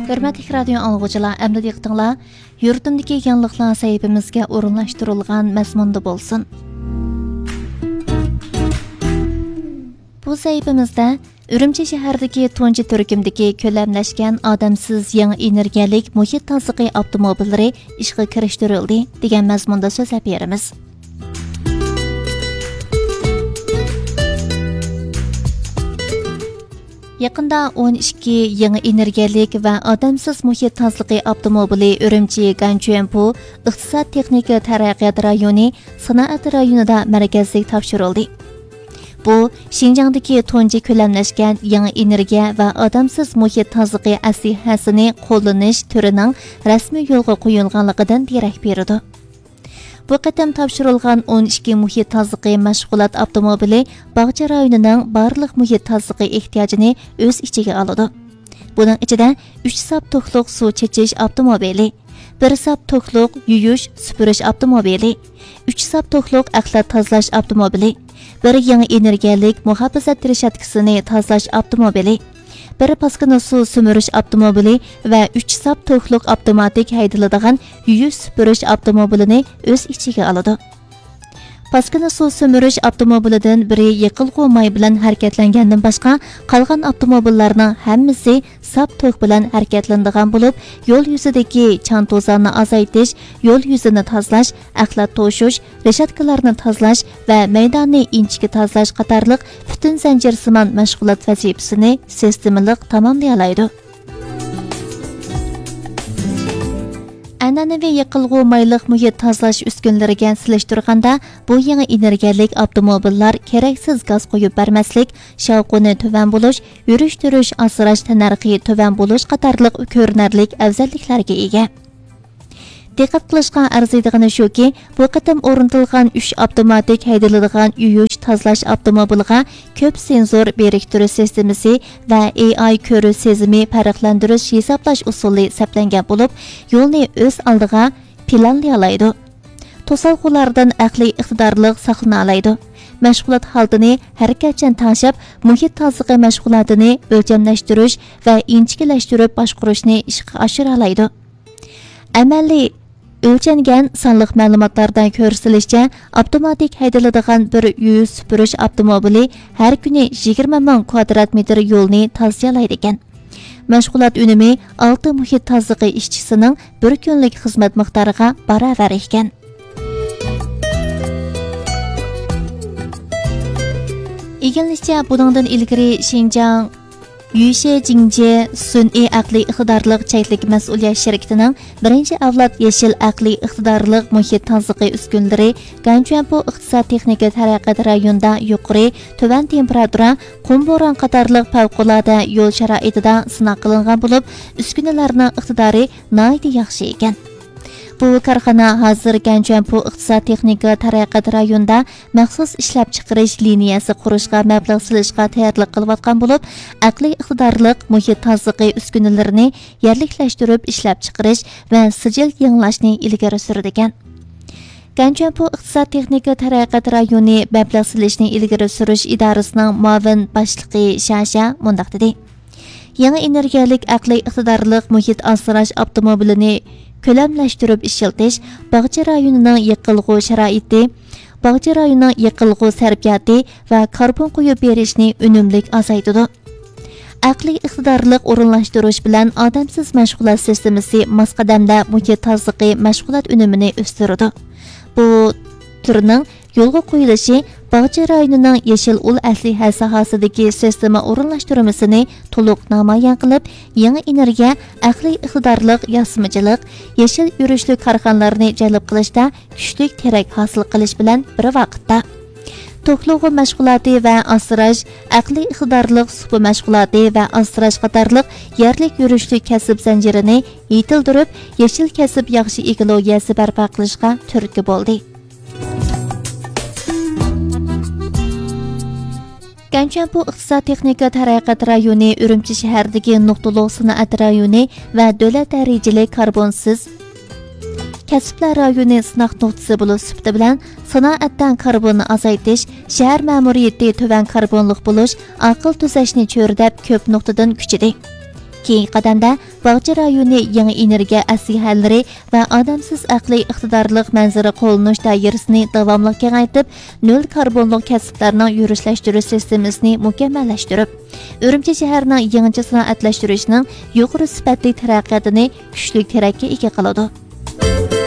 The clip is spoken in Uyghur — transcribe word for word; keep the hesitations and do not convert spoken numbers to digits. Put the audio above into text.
ھۆرمەتلىك رادىيو ئاڭلىغۇچىلار، ئەمدى دىققىتىڭلار يۇرتۇمدىكى يېڭىلىقلار سەھىپىمىزگە ئورۇنلاشتۇرۇلغان مەزمۇندا بولسۇن. بۇ سەھىپىمىزدە ئۈرۈمچى شەھەردىكى تۇنجى تۈركۈمدىكى كۆلەملەشكەن ئادەمسىز يېڭى ئېنېرگىيەلىك مۇھىت تازىلىقى ئاپتوموبىللىرى ئىشقا كىرىشتۈرۈلدى دېگەن مەزمۇندا سۆزلەپ بېرىمىز. يېقىندا ئون ئىككى يېڭى ئېنېرگىيەلىك ۋە ئادەمسىز مۇھىت تازىلىقى ئاپتوموبىلى ئۈرۈمچى گەنچۈەنپۇ ئىقتىساد تېخنىكا تەرەققىيات رايونى سانائەت رايونىدا مەركەزلىك تاپشۇرۇلدى. بۇ، شىنجاڭدىكى تۇنجى كۆلەملەشكەن يېڭى ئېنېرگىيە ۋە ئادەمسىز مۇھىت تازىلىقى ئەسلىھەسىنى قوللىنىش تۈرىنىڭ رەسمىي يولغا قويۇلغانلىقىدىن دېرەك بېرىدۇ. بۇ قېتىم تاپشۇرۇلغان ئون ئىككى مۇھىت تازىلىقى مەشغۇلات ئاپتوموبىلى باغچە رايونىنىڭ بارلىق مۇھىت تازىلىقى ئېھتىياجىنى ئۆز ئىچىگە ئالىدۇ. بۇنىڭ ئىچىدە ئۈچ ساپ توكلۇق سۇ چېچىش ئاپتوموبىلى، بىر ساپ توكلۇق يۇيۇش، سۈپۈرۈش ئاپتوموبىلى، ئۈچ ساپ توكلۇق ئەخلەت تازىلاش ئاپتوموبىلى، بىر يېڭى ئېنېرگىيەلىك مۇھاپىزەت رېشاتكىسىنى تازىلاش ئاپتوموبىلى، بىر پاسكىنا سۇ سۈمۈرۈش ئاپتوموبىلى ۋە ئۈچ ساپ توكلۇق ئاپتوماتىك ھەيدىلىدىغان يۇيۇش سۈپۈرۈش ئاپتوموبىلىنى ئۆز ئىچىگە ئالىدۇ. پاسكىنا سۇ سۈمۈرۈش ئاپتوموبىلىدىن بىرى يېقىلغۇ ماي بىلەن ھەرىكەتلەنگەندىن باشقا، قالغان ئاپتوموبىللارنىڭ ھەممىسى ساپ توك بىلەن ھەرىكەتلىنىدىغان بولۇپ، يول يۈزىدىكى چاڭ-توزاننى ئازايتىش، يول يۈزىنى تازىلاش، ئەخلەت توشۇش، رېشاتكىلارنى تازىلاش ۋە مەيداننى ئىنچىكە تازىلاش قاتارلىق پۈتۈن زەنجىرسىمان مەشغۇلات ۋەزىپىسىنى سىستېمىلىق تاماملىيالايدۇ. ئەنئەنىۋى يېقىلغۇ مايلىق مۇھىت تازىلاش ئۈسكۈنىلىرىگە سېلىشتۇرغاندا، بۇ يېڭى ئېنېرگىيەلىك ئاپتوموبىللار كېرەكسىز گاز قويۇپ بەرمەسلىك، شاۋقۇنى تۆۋەن بولۇش، يۈرۈشتۈرۈش، ئاسراش تەننەرخى تۆۋەن بولۇش قاتارلىق كۆرۈنەرلىك ئەۋزەللىكلەرگە ئىگە. دىققەت قىلىشقا ئەرزىيدىغىنى شۇكى، بۇ قېتىم ئورنىتىلغان ئۈچ ئاپتوماتىك ھەيدىلىدىغان يۇيۇش، تازىلاش ئاپتوموبىلىغا كۆپ سېنزور بىرىكتۈرۈش سىستېمىسى ۋە ئېي ئاي كۆرۈش سېزىمى پەرقلەندۈرۈش ھېسابلاش ئۇسۇلى سەپلەنگەن بولۇپ، يولنى ئۆز ئالدىغا پىلانلىيالايدۇ. توسالغۇلاردىن ئەقلىي ئىقتىدارلىق ساقلىنالايدۇ. مەشغۇلات ھالىتىنى ھەرىكەتچان تەڭشەپ، مۇھىت تازىلىقى مەشغۇلاتىنى ئۆلچەملەشتۈرۈش ۋە ئىنچىكىلەشتۈرۈپ باشقۇرۇشنى ئىشقا ئاشۇرالايدۇ. ئەمەلىي ئۆلچەنگەن سانلىق مەلۇماتلاردا كۆرسىتىلىشىچە، ئاپتوماتىك ھەيدىلىدىغان بىر يۇيۇش سۈپۈرۈش ئاپتوموبىلى ھەر كۈنى يىگىرمە مىڭ كۋادرات مېتىر يولنى تازىيالايدىكەن. مەشغۇلات ئۈنۈمى ئالتە مۇھىت تازىلىقى ئىشچىسىنىڭ بىر كۈنلۈك خىزمەت مىقدارىغا باراۋەر ئىكەن. ئىگىلىنىشىچە، بۇنىڭدىن ئىلگىرى شىنجاڭ يۈيشې جىڭجې سۈنئىي ئەقلىي ئىقتىدارلىق چەكلىك مەسئۇلىيەت شىركىتىنىڭ بىرىنچى ئەۋلاد يېشىل ئەقلىي ئىقتىدارلىق مۇھىت تازىلىقى ئۈسكۈنىلىرى گەنچۈەنپۇ ئىقتىساد تېخنىكا تەرەققىيات رايونىدا يۇقىرى، تۆۋەن تېمپېراتۇرا، قۇم بوران قاتارلىق پەۋقۇلئاددە يول شارائىتىدا سىناق قىلىنغان بولۇپ، ئۈسكۈنىلەرنىڭ ئىقتىدارى ناھايىتى ياخشى ئىكەن. بۇ كارخانا ھازىر گەنچۈەنپۇ ئىقتىساد تېخنىكا تەرەققىيات رايونىدا مەخسۇس ئىشلەپچىقىرىش لىنىيەسى قۇرۇشقا مەبلەغ سېلىشقا تەييارلىق قىلىۋاتقان بولۇپ، ئەقلىي ئىقتىدارلىق مۇھىت تازىلىقى ئۈسكۈنىلىرىنى يەرلىكلەشتۈرۈپ ئىشلەپچىقىرىش ۋە سىجىل يېڭىلاشنى ئىلگىرى سۈرىدىكەن. گەنچۈەنپۇ ئىقتىساد تېخنىكا تەرەققىيات رايونى مەبلەغ سېلىشنى ئىلگىرى سۈرۈش ئىدارىسىنىڭ مۇئاۋىن باشلىقى شاشا مۇنداق دېدى: يېڭى ئېنېرگىيەلىك ئەقلىي ئىقتىدارلىق مۇھىت ئاسراش ئاپتوموبىلىنى كۆلەملەشتۈرۈپ ئىشلىتىش باغچە رايونىنىڭ يېقىلغۇ شارائىتى، باغچە رايونىنىڭ يېقىلغۇ سەرپىياتى ۋە كاربون قويۇپ بېرىشنى ئۈنۈملۈك ئازايتىدۇ. ئەقلىي ئىقتىدارلىق ئورۇنلاشتۇرۇش بىلەن ئادەمسىز مەشغۇلات سىستېمىسى ماس قەدەمدە مۇھىت تازىلىقى مەشغۇلات ئۈنۈمىنى ئۆستۈرىدۇ. بۇ تۈرنىڭ يولغا قويۇلۇشى باغچە رايونىنىڭ يېشىل ئۇل ئەسلىھە ساھەسىدىكى سىستېما ئورۇنلاشتۇرمىسىنى تولۇق نامايان قىلىپ، يېڭى ئېنېرگىيە، ئەقلىي ئىقتىدارلىق ياسىمىچىلىق، يېشىل يۈرۈشلۈك كارخانىلارنى جەلپ قىلىشتا كۈچلۈك تىرەك ھاسىل قىلىش بىلەن بىر ۋاقىتتا، توكلىغۇ مەشغۇلاتى ۋە ئاسراش، ئەقلىي ئىقتىدارلىق سۇپا مەشغۇلاتى ۋە ئاسراش قاتارلىق يەرلىك يۈرۈشلۈك كەسىپ زەنجىرىنى يېتىلدۈرۈپ، يېشىل كەسىپ ياخشى ئېكولوگىيەسى بەرپا قىلىشقا تۈرتكە بولدى. گەنچۈەنپۇ ئىقتىساد تېخنىكا تەرەققىيات رايونى ئۈرۈمچى شەھەرىدىكى نۇقتىلىق سانائەت رايونى ۋە دۆلەت دەرىجىلىك كاربونسىز كەسىپلەر رايونى سىناق نۇقتىسى بولۇش سۈپىتى بىلەن سانائەتتە كاربوننى ئازايتىش، شەھەر مەمۇرىيىتى تۆۋەن كاربونلۇق بولۇش، ئاقىل تۈزەشنى چۆرىدەپ كۆپ نۇقتىدىن كۈچىدى. كېيىنكى قەدەمدە باغچە رايونى يېڭى ئېنېرگىيە ئەسلىھەلىرى ۋە ئادەمسىز ئەقلىي ئىقتىدارلىق مەنزىرە قوللىنىش دائىرىسىنى داۋاملىق كېڭەيتىپ، نۆل كاربونلۇق كەسىپلەرنىڭ يۈرۈشلەشتۈرۈش سىستېمىسىنى مۇكەممەللەشتۈرۈپ، ئۈرۈمچى شەھىرىنىڭ يېڭىچە سانائەتلەشتۈرۈشنىڭ يۇقىرى سۈپەتلىك تەرەققىياتىنى كۈچلۈك تىرەككە ئىگە قىلىدۇ.